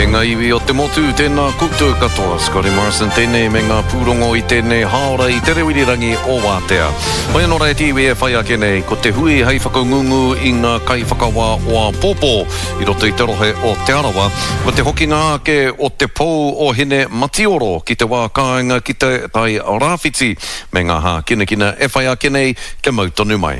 E ngā iwi o te motu, tēnā koutou katoa. Scotty Morrison tēnei me ngā pūrongo i tēnei hāora i te reo irirangi o Wātea. Hoi anō rā e te iwi e whai ake nei, ko te hui hei whakangungu i ngā kaiwhakawā o āpōpō i roto i te rohe o Te Arawa, ko te hokinga ake o te pou o Hine Matioro ki te wā kāinga ki te Tai Rāwhiti me ngā hākinakina e whai ake nei kia mau tonu mai.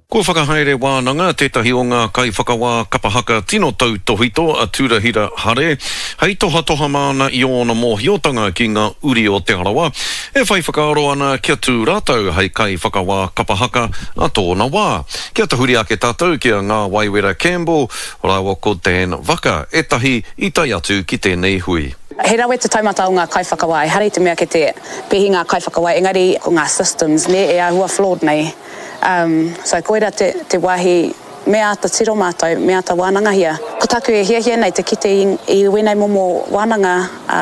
Kua whakahaere wānanga tētahi o ngā kaiwhakawā kapa haka tino tautōhito a Turahira Hare hei tohatoha māna i ōna mōhiotanga ki ngā uri o Te Arawa e whai whakaaro ana kia tū rātou hei kaiwhakawā kapa haka a tōna wā. Kia tahuri ake tātou ki a Ngāwaiwera Campbell rāua ko Dan Vaka ētahi i tae atu ki tēnei hui. He rawe te taumata o ngā kaiwhakawā, ehara i te mea kei te pēhi ngā kaiwhakawā, engari ko ngā systems, nē, e āhua flawed nei. Um, so koira te, te wāhi me āta tiro mātou, me āta wānangahia. Ko tāku e hiahia nei te kite i, i wēnei momo wānanga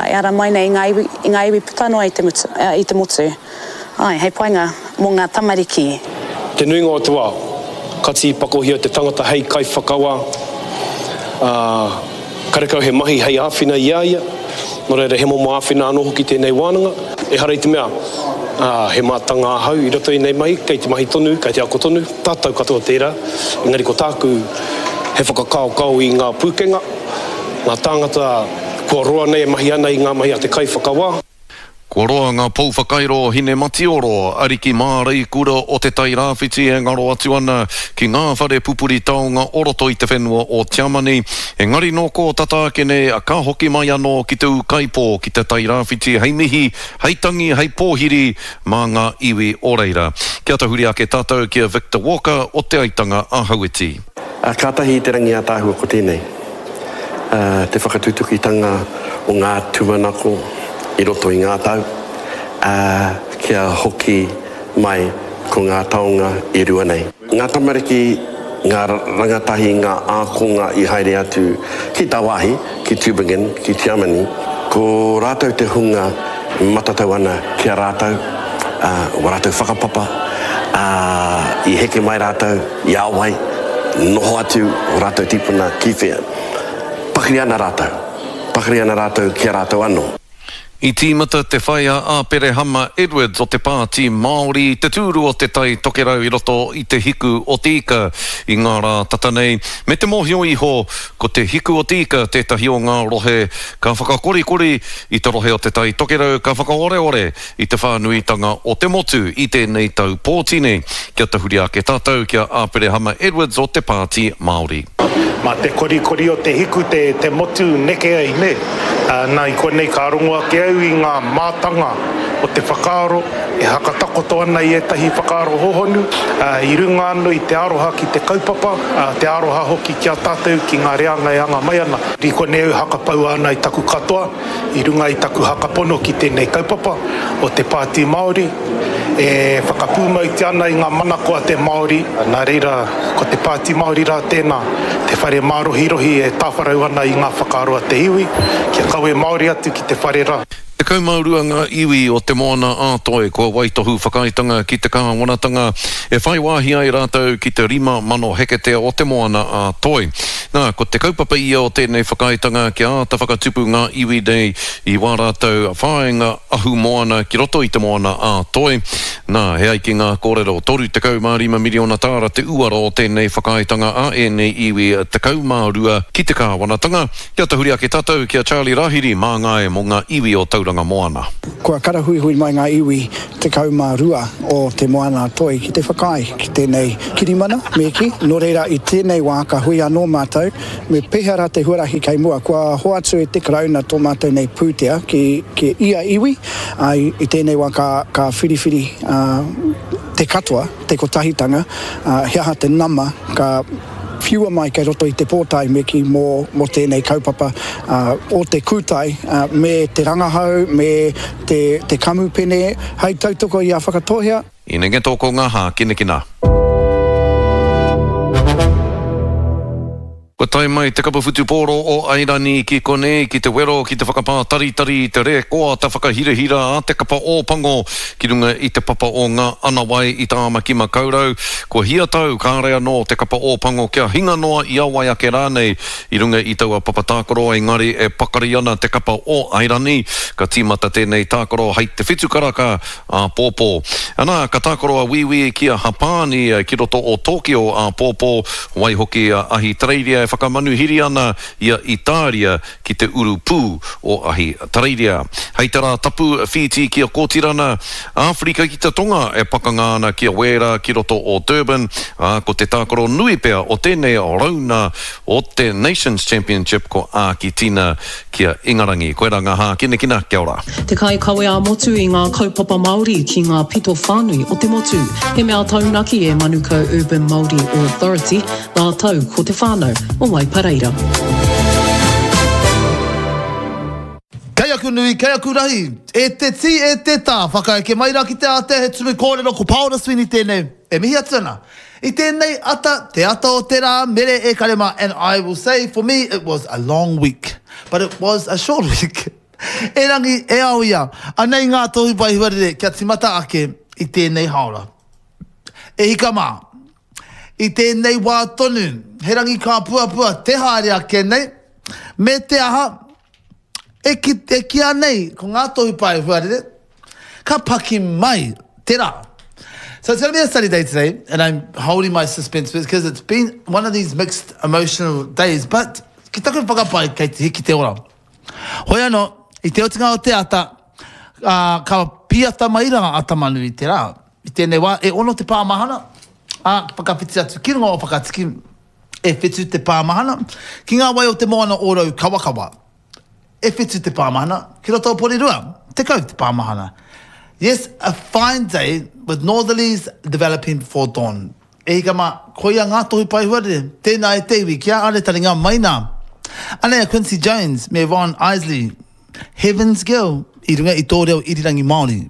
e ara mai nei i ngā iwi, i ngā iwi puta noa i te mutu, i te motu. Āe, hei painga mō ngā tamariki. Te nuinga o te wā, ka tīpakohia te tangata hei kaiwhakawā, ā, Karekau he mahi hei āwhina i a ia, nō reira he momo āwhina anō hoki tēnei wānanga. Ehara i te mea, ā, he mātanga ahau i roto i ēnei mahi, kei te mahi tonu, kei te ako tonu, tātou katoa tērā, engari ko tāku he whakakaokao i ngā pūkenga, ngā tāngata kua roa nei e mahi ana i ngā mahi a te kaiwhakawā. Kua roa ngā pou whakairo o Hinematioro, ariki māreikura o Te Tai Rāwhiti e ngaro atu ana ki ngā whare pupuri taonga o roto i te whenua o Tiamani. Engari nō kō tata ake nei ka hoki mai anō ki te ūkaipō ki Te Tai Rāwhiti hei mihi, hei tangi, hei pōhiri mā ngā iwi o reira. Kia tahuri ake tātou ki a Victor Walker o Te Aitanga a Hauiti. Ā, kātahi te rangi ātaahua ko tēnei, ā, te whakatutukitanga o ngā tūmanako i roto i ngā tau, ā, kia hoki mai ko ngā taonga e rua nei. Ngā tamariki, ngā rangatahi, ngā ākonga i haere atu ki tāwāhi, ki Tübingen, ki Tiamani, ko rātou te hunga matatau ana ki a rātou, ā, wā rātou whakapapa, ā, i heke mai rātou i a wai, noho atu ō rātou tīpuna ki whea. Pakari ana rātou, pakari ana rātou ki a rātou anō. I tīmata te whai a Āperehama Edwards o te Pāti Māori i te tūru o Te Tai Tokerau i roto i Te Hiku o Te Ika i ngā rā tata nei, me te mōhio iho ko Te Hiku o Te Ika tētahi o ngā rohe ka whakakorikori i te rohe o Te Tai Tokerau ka whakaoreore i te whānuitanga o te motu i tēnei tau pōti nei. Kia tahuri ake tātou ki a Āperehama Edwards o te Pāti Māori. Mā te korikori o te hiku te motu neke ai, nē? Nā, i konei ka rongo ake au i ngā mātanga o te whakaaro e hakatakoto ana i ētahi whakaaro hohonu, i runga anō i te aroha ki te kaupapa, te aroha hoki ki a tātou, ki ngā reanga e anga mai ana. I konei au hakapaua ana i taku katoa, i runga i taku hakapono ki tēnei kaupapa o te Pāti Māori, e whakapūmautia ana i ngā manako a te Māori, nā reira, ko te Pāti Māori rā tēnā, te whare mārohirohi e tāwharau ana i ngā whakaaro a te iwi, kia kawe Māori atu ki te whare rā. 12 ngā iwi o Te Moana-a-Toi kua waitohu whakaaetanga ki te kāwanatanga e whai wāhi ai rātou ki te 5,000 heketea o Te Moana-a-Toi. Nā, ko te kaupapa ia o tēnei whakaaetanga kia āta whakatupu ngā iwi nei i wā rātou whāinga ahumoana ki roto i Te Moana-a-Toi. Nā, e ai ki ngā kōrero, 35 miriona tāra te uara o tēnei whakaaetanga a ēnei iwi 12 ki te kāwanatanga. Kia tahuri ake tātou ki a Charlie Rahiri, māngai mō ngā iwi o Tauranga Moana. Kua karahuihui mai ngā iwi 12 o Te Moana-a-Toi ki te whakaae ki tēnei kirimana, me kī. Nō reira, i tēnei wā ka hui anō mātou, me pēhea rā te huarahi kei mua? Kua hoatu e te Karauna tō mātou nei pūtea ki, ki ia iwi, ā, i tēnei wā ka, ka whiriwhiri te katoa, te kotahitanga, ā, he aha te nama ka whiua mai kei roto i te pōtae me kī mō, mō tēnei kaupapa o te kūtai me te rangahau, me te, te kamupene hei tautoko i a Whakatōhea. Inenge tō ko ngā hākinakina. Kua tae. tae mai te kapa whutupōro o Airani ki konei ki te wero ki te whakapātaritari i te rēkoata whakahirahira a te kapa Ōpango ki runga i te papa o Ngā Anawai i Tāmaki Makaurau. Kua hia tau kāre anō te kapa Ōpango kia hinga noa i a wai ake rānei i runga i taua papa tākaro engari e pakari ana te kapa o Airani. Ka tīmata tēnei tākaro hei te whitu karaka āpōpō. Anā, ka tākaro a Wīwī ki a Hapāni ki roto o Tōkio āpōpō, waihoki a Ahitereiria e whakamanuhiri ana i a Itāria ki te urupū o Ahitereiria. Hei te Rātapu, Whītī ki a Kōtirana, Āwherika ki te Tonga e pakanga ana ki a Wēra ki roto o Durban, ā, ko te tākaro nui pea o tēnei rauna o te Nations Championship ko Ākitina ki a Ingarangi. Koirā ngā hākinakina, kia ora. Te kaikawe ā-motu i ngā kaupapa Māori ki ngā pito whānui o te motu. He mea taunaki e Manukau Urban Māori Authority rātou ko te whānau o Waipareira. Kei aku nui, kei aku rahi, e te tī, e te tā, whakaeke mai rā ki te ātea he tumu kōrero ko Paora Sweeney tēnei e mihi atu ana. I tēnei ata, te ata o te rā, mere e kare mā, and I will say for me it was a long week, but it was a short week. Erangi, e ao ia, anei ngā tohu whai huarere kia timata ake i tēnei haora. E hika mā, i tēnei wā tonu, he rangi kāpuapua te haere ake nei, me te aha, E ki, e kīa nei ko ngā tohu pae huarere, ka paki mai te rā. So it's going to be a sunny day today, and I'm holding my suspense because it's been one of these mixed emotional days, but ki taku whakapae kei te hiki te ora. Hoi anō, i te otinga o te ata, uh, ka pīata mai rā a Tamanui te rā. I tēnei wā, e ono te pāmahana, ā, whakawhiti atu ki runga o Whakatiki, E whitu te pāmahana, ki ngā wai o te moana o Raukawakawa. E whitu te pāmahana, ki roto o Porirua. 10 te pāmahana. Yes, a fine day with northerlies developing before dawn. E hika mā, koia ngā tohu pae huarere, tēnā e te iwi, kia are taringa mai nā. Anei a Quincy Jones me Ron Isley, Heaven's Girl, i runga i tō reo irirangi Māori.